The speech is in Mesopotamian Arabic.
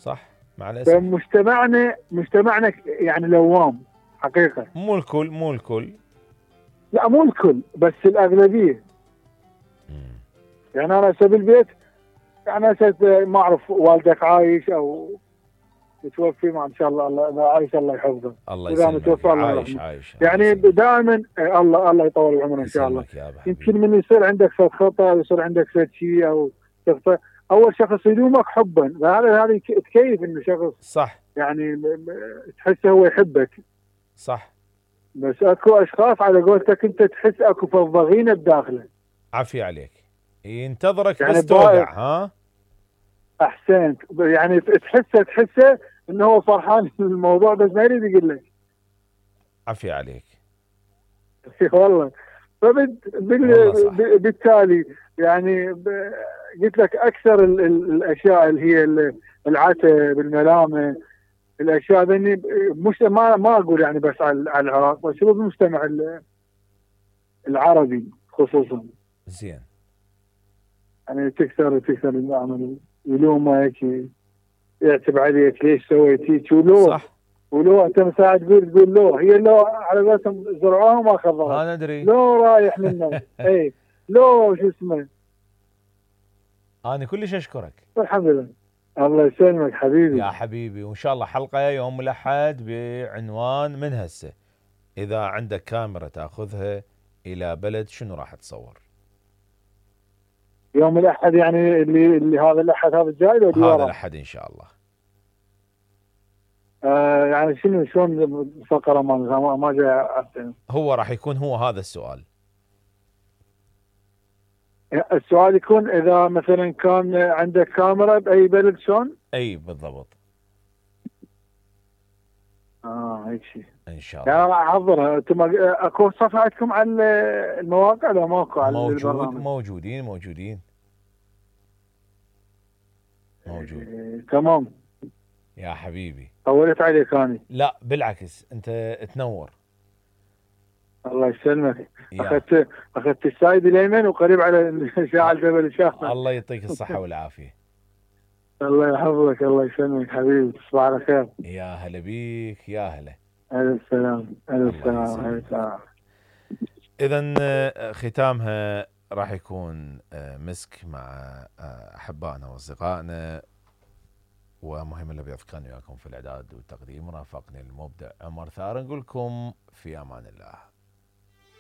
صح مع الاسف. فمجتمعنا يعني لوام حقيقه. مو الكل. لا مو الكل بس الاغلبيه. يعني انا هسه بالبيت، يعني هسه ما اعرف والدك عايش او متوفي، ما ان شاء الله الله عايش الله يحفظه. الله يسلمك. عايش يعني دائما الله يطول عمره ان شاء الله. يمكن من يصير عندك صوت خطا، يصير عندك شيء او تخطئ، اول شخص يلومك حبا، هذا تكيف انه شخص صح يعني تحسه هو يحبك. صح. بس اكو اشخاص على قولتك انت تحس اكو فضغينه بداخله. عافية عليك، ينتظرك يعني بس توقع. ها احسنت. يعني تحسه انه هو فرحان بالموضوع بس ما يريد يقول لك. عافية عليك. والله. بالتالي يعني قلت لك اكثر الاشياء اللي هي العتب، الملامه، الاشياء ذني مش ما اقول يعني بس على العراق، بس هو بالمجتمع العربي خصوصا. زين. يعني تكثر العمل، يلومك، يعتب عليك ليش سويت هيك، ولو انت مساعد تقول لو، هي لو على قولتهم زرعوها ما خضرت. انا ادري. لو رايح للناس. اي لو شو اسمه. انا كلش اشكرك. الحمد لله. الله يسلمك حبيبي. يا حبيبي، وان شاء الله حلقه يوم الاحد بعنوان من هسه، اذا عندك كاميرا تاخذها الى بلد شنو راح تصور؟ يوم الاحد يعني اللي هذا الاحد هذا الجاي ولا هذا الاحد ان شاء الله. يعني شلون الفقره ما جاي. هو راح يكون هو هذا السؤال. السؤال يكون اذا مثلا كان عندك كاميرا باي بلد شلون؟ اي بالضبط. هيك شيء ان شاء الله. يعني راح احضرها. انتم اكو صفحه عندكم على المواقع؟ لا ماكو على البرنامج. موجود. تمام يا حبيبي. طولت عليك اني. لا بالعكس، انت تنور. الله يسلمك. اخذت السايد اليمين وقريب على شاعل جبل الشاف. الله يعطيك الصحه والعافيه. الله يحفظك. الله يسلمك حبيبي. تصبح على خير. يا هلا بيك. يا هلا. الف سلام. الف سلام. اذا ختامها راح يكون مسك مع احبائنا واصدقائنا، ومهم اللي بيذكرني وياكم في الاعداد والتقديم رافقني المبدع عمر ثار. نقول لكم في امان الله.